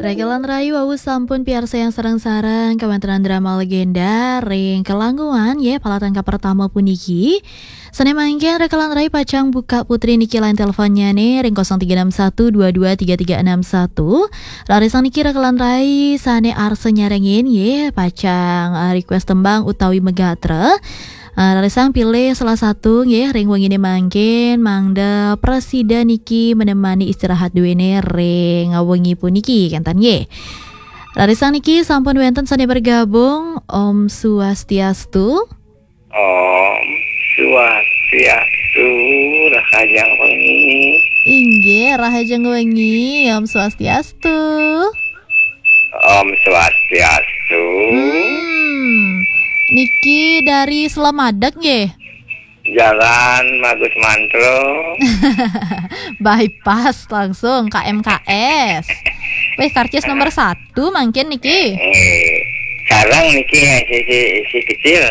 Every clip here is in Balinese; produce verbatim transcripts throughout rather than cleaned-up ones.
Rekelan rai wau sampun piarsayang sareng-sareng kawéntenan drama legenda ring Kelanggungan, nggih, palatangka pertama puniki. Sané mangkin rekelan rai pacang buka putri niki line teleponnyané ring kosong tiga enam satu dua dua tiga tiga enam satu. Rarisang niki rekelan rai sané arsa nyarengin, nggih, pacang, eh, request tembang utawi megatra. Ah, rarisang pilih salah satu nggih ring wenginé mangkin, mangda prasida niki menemani istirahat duéné ring wengi puniki, kénten nggih. Rarisang niki sampun wénten sané bergabung. Om Swastiastu. Om Swastiastu, rahajeng wengi. Inggih, rahajeng wengi. Om Swastiastu. Om Swastiastu. Hmm. Niki dari Selamadeg nggih? Jalan Magus Mantro. Bypass langsung K M K S. Wih, karcis nomor satu mangkin niki. Eh, sarang niki ya, si, si, si kecil.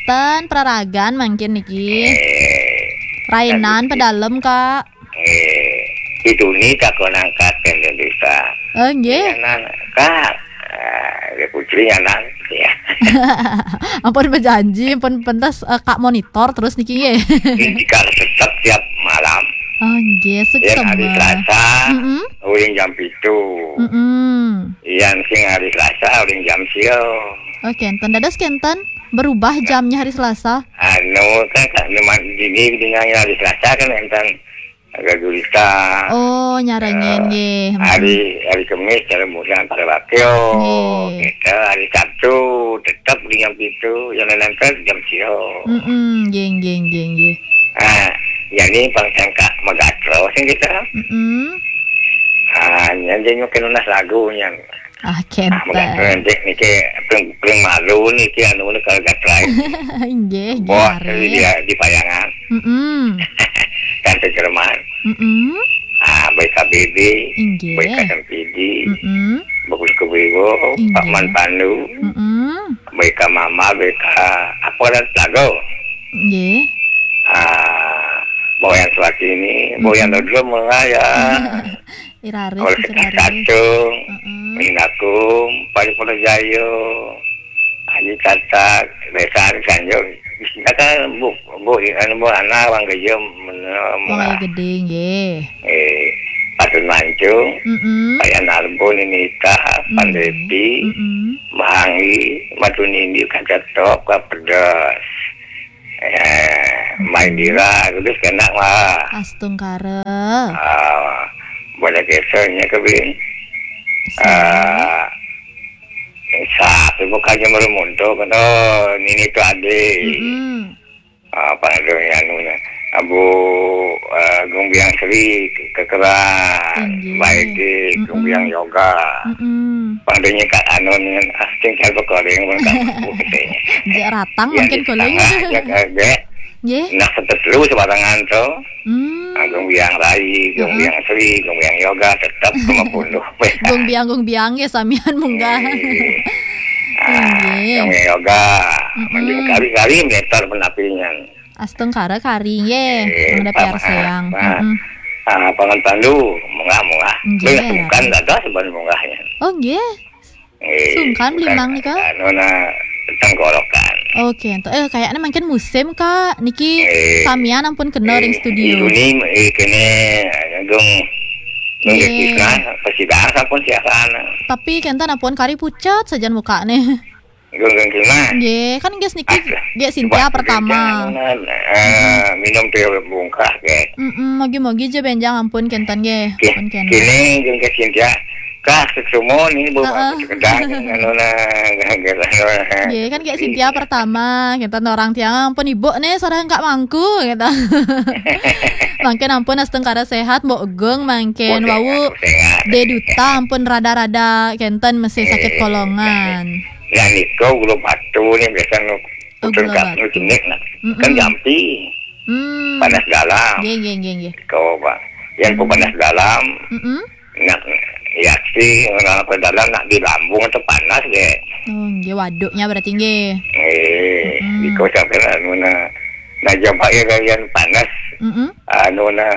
Ten peraragan mangkin niki. Eh, Rainan tapi pedalem, Kak. Eh, itu ni tak kau nangkat kan bisa. Oh, nggih. Ya, nan, Kak. Ah, dia putri ya, nan. Ya. Ampun berjanji, ampun pentas, eh, Kak monitor terus niki nggih. Ini jika tetap tiap malam. Oh, nggih, yang hari suksema. Selasa, Mm-mm. Uling jam pitu. Mm-mm. Yang sing hari Selasa, uling jam sio. Oke, enten dados kenten berubah jamnya hari Selasa. Anu, kan, kan, memang dini dengan hari Selasa kan enten agak gurita. Oh, nyarengin, eh, nggih. Mm-mm. Hari, hari Kemis, dalam musim antara wakil. Nggih. Kita hari Sabtu, tetap di jam pitu, yang lain-lain kan jam sio. Mm-mm, nggih, nggih, nggih, nggih. Ah, jadi pang sangka megatro sing kita. Mm-mm. Ah, jadi mungkin lunas lagunya. Ah, ah, kenten. Megatro nanti niki paling, paling malu niki anu ni kalau gatrai. Nggih, nggih, Bos, hari. Dia di Payangan. Mm-mm. Tante Jerman. Mm-mm. Ah, baik K B B, inggih. Baik K M P D, mm-mm. Bagus Kewiwo, inggih. Pak Man Pandu, mm-mm. Baik K Mama, baik K apa dan Telago. Inggih. Ah, Boyan Suwatini, mm-mm. Boyan Dodro mulai ya. Iraris, oleh Iraris. Kacung, mm-mm. Mindakum, Paripurna Jayo, Aji Tatak, Besan, Sanjung. Di sini kan bu, bu, anu, bu, anak, orang kerja, men-, orang men-, gedé, nggih. Eh, Patut Mancung, mm-mm. Payan Arbun, Nini Ita, mm-mm. Pandepi, mm-mm. Mahangi, Matu Nindi, Kaca Top, Kapedas. Eh, Maindira, terus kena mah. Astungkara. Ah, boleh kesanya ke bin. Sini. Ah, Sa, bukannya merumuntuk, oh, Nini tu adik. Mm-mm. Ah, apa namanya, anunya? Abu, eh, Gumbiang Sri, Kekeran, inggih. Baik di Gumbiang, mm-mm. Yoga. Mm-mm. Padanya Kak Anu nih, ah, sing saya bekoring, pun tak mampu katanya. Jek ratang ya, mungkin di koling. Tengah, ya, kaget. Nggih. Nah, setetelu sebarangan tuh. Hmm. Ah, Gumbiang Rai, heeh. Gumbiang Sri, Gumbiang Yoga, tetap sama puluh. Gumbiang, gumbiang ya, samian munggah. Eh. Ah, inggih. Gumbiang Yoga, mm-mm. Mending kari-kari meter penapinya. Astungkara kari nggih, eh, mangda pama-, piarsayang. Ah, mm-mm. Ah, pangan tandu, munggah-munggah. Nggih. Beli sungkan dados ban munggahnya. Oh, nggih. Eh, sungkan beli mang nika? Anu na tenggorokan. Oke, ento, eh, kayaknya mungkin musim, Kak. Niki eh, samian ampun kena ring eh, studio. Ini, eh, kene, dong, nggih. Nggih, nah, persidangan sampun siasan. Tapi kenten ampun kari pucat sajan mukane. Gung, gung, gung, nah. Nggih, kan nggih niki ah, nggih Cynthia pertama. Anu, nah, eh, mm-mm. Minum teh bungkah, nggih. Mm-mm, mogi-mogi aja benjang ampun kenten nggih. Nggih, ampun kenten. Kini gung ke Cynthia. Kah, sesumo nih, Bu, heeh. Sekedar, anu, nah, nggih, anu, nah. Nggih, kan nggih Cynthia pertama, kenten orang tiang ampun ibu nih, sareng Kak Mangku, gitu. Mangkin ampun astungkara sehat, Mbok Gung, mangkin wau sehat, sehat. Deduta ampun rada-rada kenten masih sakit eh, kolongan. Nah, nika gula batu nih biasa nu-, oh, gula batu. Jenik, nah. Mm-mm. Kan jampi. Hmm. Panas dalam. Nggih, nggih, nggih, nggih. Kau, Pak. Yang ku panas dalam. Mm-mm. Nak, ya sih, orang apa dalam nak di lambung atau panas deh. Oh, nggih, waduknya berarti nggih. Eh, mm-mm. Di kau sampai anu nah. Nah, jampak ya kalian panas. Mm-mm. Anu nah.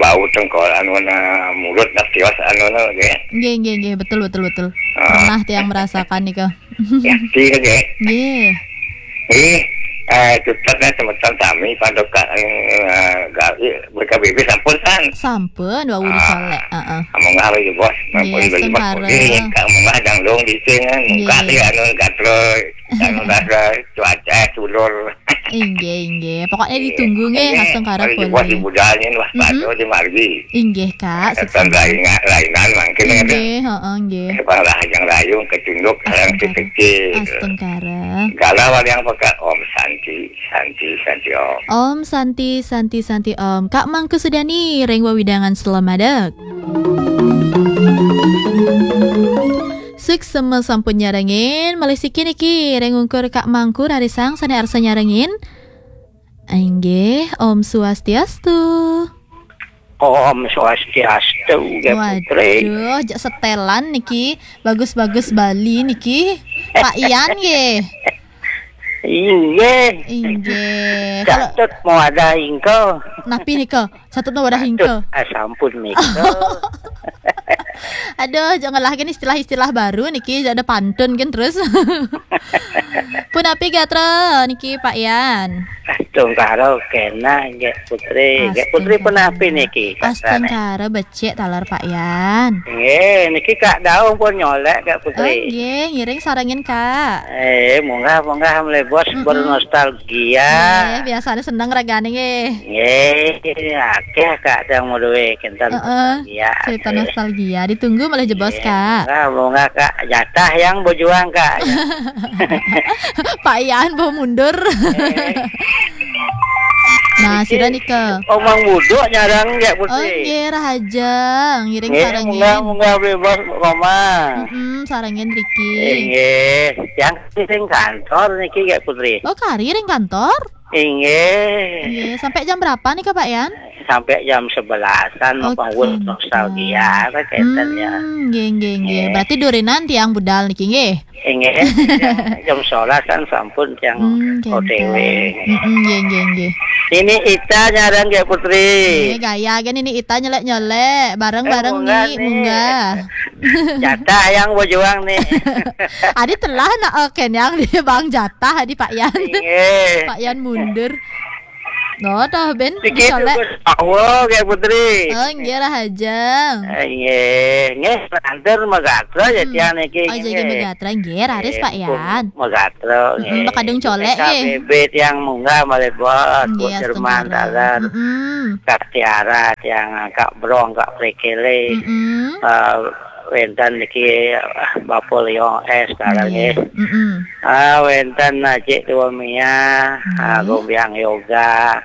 Bau tengkol anu na mulut na tios anu na ge. Nggih, nggih, nggih, betul, betul, betul. Ah. Pernah tiang merasakan nika. Yakti na ge. Nggih. Nggih. Eh, tutupnya semeton sami paduka, eh, gawe B K B B sampun, San. Sampun, wau dicolek. Heeh. Among gawe, Bos. Nggih, astungkara. Kamu mah dangdung di sini, muka dia anu gatrol, anu gatrol, cuaca, eh, tulur. Inggih, inggih. Pokoknya ditunggu nggih, astungkara. Kalau dibuat di budalnya, wah, pado di margi. Inggih, Kak. Kan lainan, lainan mangkin. Inggih, heeh, inggih. Bang Rahajeng Rayung, kecunduk, yang kecil. Astungkara. Galau ada yang pakai Om Santi, Santi, Santi Om. Om Santi, Santi, Santi Om. Kak Mangku Sudani, ring wewidangan Slemadeg. Suksma sampun nyarengin, malih siki niki ring ungkur Kak Mangku rarisang sane arsa nyarengin. Inggih, Om Swastiastu. Om Swastiastu, nggih, Putri. Waduh, jak setelan niki, bagus-bagus Bali niki. Pak Ian nggih. Inggih. Inggih. Kalau Catut mau ada ingko. Napi nika? Catut mau ada ingko. Ah, sampun nika. Aduh, jangan lah gini istilah-istilah baru niki, ada pantun kan terus. Punapi gatra niki Pak Ian? Astungkara kena, nggih Putri. Nggih Putri, punapi niki, Kak Sane? Astungkara becik taler Pak Ian. Nggih, niki Kak Daung pun nyolek, nggih Putri. Oh, nggih, ngiring sarengin, Kak. Eh, munggah, munggah, mlebos bernostalgia. Nggih, biasanya seneng ragane nggih. Nggih, akeh, Kak, yang mau duwe kinten. Heeh, nostalgia, cerita akeh. Nostalgia. Ditunggu malah jebos, nggih, Kak. Munggah, munggah, Kak. Jatah yang berjuang, Kak. Pak Ian mau mundur. Eh. Nah, sira nika. Omang buduk nyarang, nggih, Putri. Oh, nggih, Rahajeng. Ngiring, nggih, sarengin. Munggah, munggah bebas, Koma. Mm-mm, sarengin riki. Nggih, yang sing kantor niki, nggih, Putri. Oh, kari ring kantor? Inggih. Nggih, sampai jam berapa nih, Kak, Pak Yan? Sampai jam sebelasan, oh, apa, gitu. Nostalgia, apa, kaitannya. Hmm, nggih, nggih, nggih. Nggih. Berarti durinan tiang budal niki, nggih? Inggih, jam, jam sebelas kan sampun tiang, hmm, O T W. Kenten. Mm-mm, nggih, nggih, nggih. Ini Ita nyarang, nggih, Putri. Nggih, gaya kan ini Ita nyelek-nyelek, bareng-bareng, eh, munggah nih, nih. Munggah. Jatah yang berjuang nih. Adi telah nak, oke, yang di Bang Jatah, adi Pak Yan. Inggih. Pak Yan mundur. No, toh, Ben, niki dicolek. Tugas awal, nggih, Putri. Oh, nggih, Rahajeng. Eh, nggih. Nggih, antar magatra ya, hmm. Tiang niki, oh, jadi nggih. Magatra, nggih, raris, eh, Pak Yan. Magatra, mm-mm, nggih. Bakadung colek, nggih. K B B tiang munggah malih bos, nggih, Bu Jerman, astungkara. Dalan. Mm-mm. Kak Tiara, tiang Kak Brong, Kak Prekele. Mm-mm. Eh, wenten niki, eh, Bapak Leon S, dalan, nggih. Nggih. Mm-mm. Ah, wenten Cik Tua Mia, ah, nggih. Gombiang Yoga,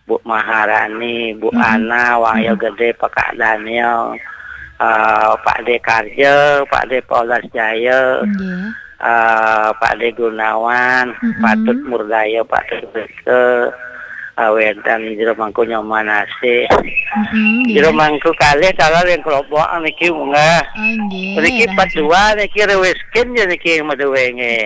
Bu Maharani, Bu, mm-mm, Ana, Wahyu, mm-mm. Gede, Pak Daniel, eh, Pak De Karja, Pak De Polas Jaya, nggih. Eh, Pak De Gunawan, mm-mm. Patut Murdaya, Patut Rike, eh, wenten Jero Mangku Nyoman Asih. Mm-mm, nggih. Jero Mangku kalih taler yang kelompok niki munggah. Oh, nggih, niki rahasia. Empat dua niki rewiskin ya niki maduwe nggih.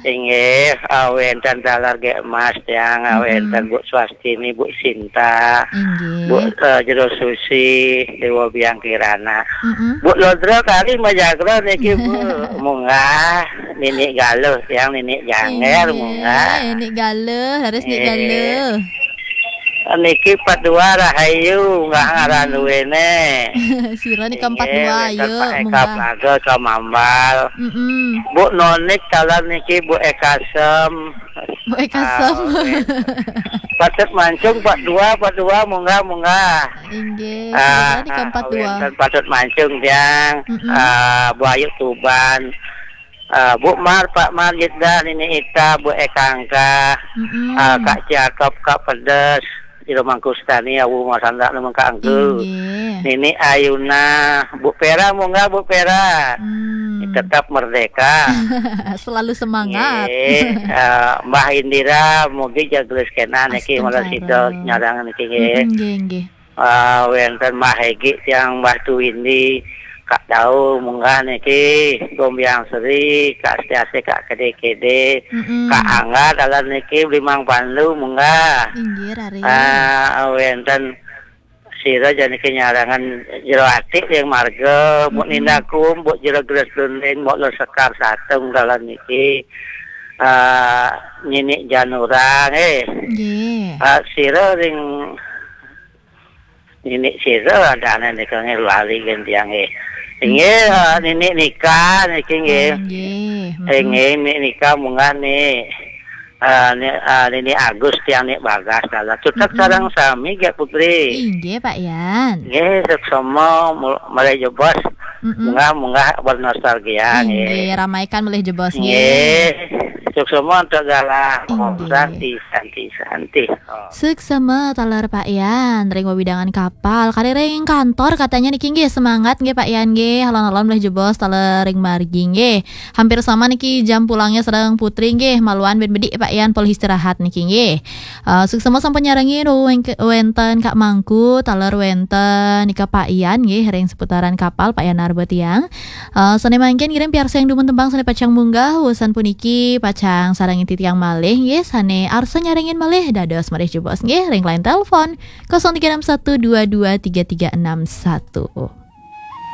Inggih, ah, wenten taler Gek Mas tiang, ah, mm-mm. Wenten Bu Swastini, Bu Sinta, inggih. Bu, eh, Jero Susi, Dewa Biang Kirana. Mm-mm. Bu Lodra kali majagra niki, Bu. Munggah, Nini Galuh tiang, Nini Janger, inggih, munggah. Nini Galuh, harus Nini, eh. Galuh. Niki Pak Dua rahayu, nggak ngaran duwene. Sira nika empat dua, inggih, wenten ayo, Pak Eka munggah. Plaga, Ka Mambal. Mm-mm. Bu Nonik taler niki, Bu Eka Sem. Bu Eka Sem. Ah, oke. Patut Mancung, Pak Dua, Pak Dua, munggah, munggah. Inggih, ah, sira nika empat dua. Wenten Patut Mancung tiang, mm-mm. Ah, Bu Ayu Tuban. Ah, Bu Mar, Pak Mar, Jeddah, Nini Ita, Bu Ekangka, mm-mm. Ah, Kak Cakep, Kak Pedes, Jero Mangku Stani, Awu Masanda, Nunu Kak Angku. Inggih. Nini Ayuna, Bu Pera, munggah Bu Pera. Hmm. Tetap merdeka. Selalu semangat. Nggih, ah, Mbah Indira, mugi jagelis kena niki, malah astungkara. Sida nyarang niki nggih. Mm-mm, nggih, nggih. Ah, wenten Mbah Hegi tiang Mbah Tuwindi, Kak Dau munggah niki, Gombiang Seri, Kak Setiasi, Kak Kede-kede, mm-mm. Kak Angga taler niki, Blimang Pandu munggah. Inggih, raris. Ah, wenten Sira jani kenyarangan jero ati ring marga, mbok nindakum, mbok jero geres dunding, mbok lor sekar satung dalan niki. Ah, nini janurang, eh. Nggih. Ah, sira ring nini sira adane nika nggih lali gentiang, eh. Inggih, ah, nini nikah niki nggih. Nggih. Eh, nggih, nini nikah munggah ni. Ah, ni, ah, nini Agus tiang ni bagas dalan. Tutek sareng sami nggih Putri. Inggih, Pak Yan. Nggih, suksma mul- malih jebos. Mm-mm. Munggah-munggah bernostalgia Inggih, nggih. Ramaikan malih jebos nggih. Nggih. Suksma untuk galah. Om Inggih. Santi, Santi, Santi. Oh. Suksma taler Pak Yan ring wewidangan kapal. Kari ring kantor katanya niki nggih, semangat nggih Pak Yan nggih. Alon-alon malih jebos taler ring margi nggih. Hampir sama niki jam pulangnya sareng Putri nggih. Maluan ben bedik Pak Yan polih istirahat niki nggih. Eh, suksma sampun nyarengin weng- wenten Kak Mangku, taler wenten nika Pak Yan nggih ring seputaran kapal Pak Yan Narba tiang. Eh, sane mangkin ngiring piarsayang dumun tembang sane pacang munggah, wusan puniki pacang sareng titiang malih nggih, sane arsa nyarengin malih dados malih jebos nggih ring line telepon kosong tiga enam satu dua dua tiga tiga enam satu.